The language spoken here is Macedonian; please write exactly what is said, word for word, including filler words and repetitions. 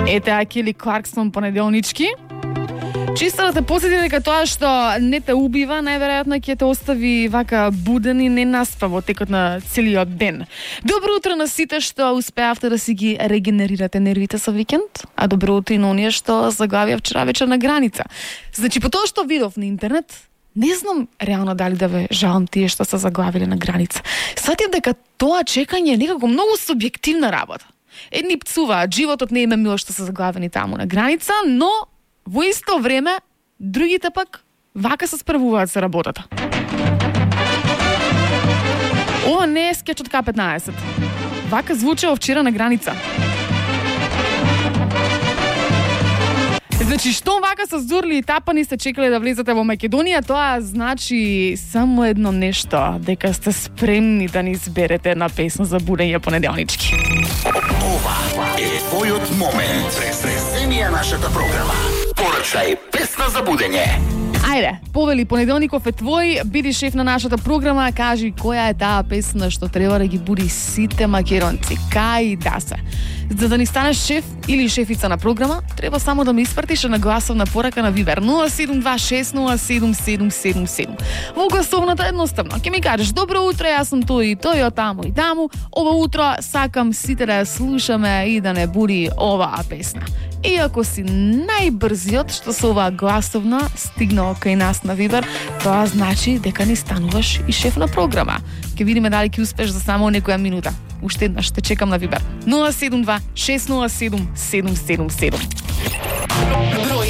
Ете, а Келли Кларксон понеделнички. Чисто да те посети дека тоа што не те убива, најверојатно ќе те остави вака буден и ненаспа во текот на целиот ден. Добро утро на сите што успеавте да си ги регенерирате нервите со викенд, а добро утро и на оние што заглавија вчера вечер на граница. Значи, по тоа што видов на интернет, не знам реално дали да ве жалам тие што се заглавиле на граница. Сватив дека тоа чекање е некако многу субјективна работа. Едни пцуваат, животот не им е мило што се заглавени таму на граница, но во исто време, другите пак вака се справуваат со работата. Ова не е скеч од К петнаесет. Вака звучало вчера на граница. Значи, што вака се здурли и тапани сте чекале да влезете во Македонија, тоа значи само едно нешто, дека сте спремни да ни изберете една песна за будење понеделнички. Ова е твојот момент. Преземија нашата програма. Порачај песна за будење. Ајде, повели, понеделников е твој, биди шеф на нашата програма, кажи која е таа песна што треба да ги буди сите македонци, кај да се. За да ни станеш шеф или шефица на програма, треба само да ми испратиш на гласовна порака на Вибер нула седум два шест нула седум седум седум седум. Во гласовната едноставно ќе ми кажеш: добро утро, јас сум тој и тој, од таму и таму. Ова утро сакам сите да ја слушаме и да не буди оваа песна. И ако си најбрзиот што со оваа гласовна стигнал кај нас на Вибер, тоа значи дека ни стануваш и шеф на програма. Ќе видиме дали ќе успеш за само некоја минута. Уште еднаш те чекам на Вибер нула седум два шест нула седум седум седум седум.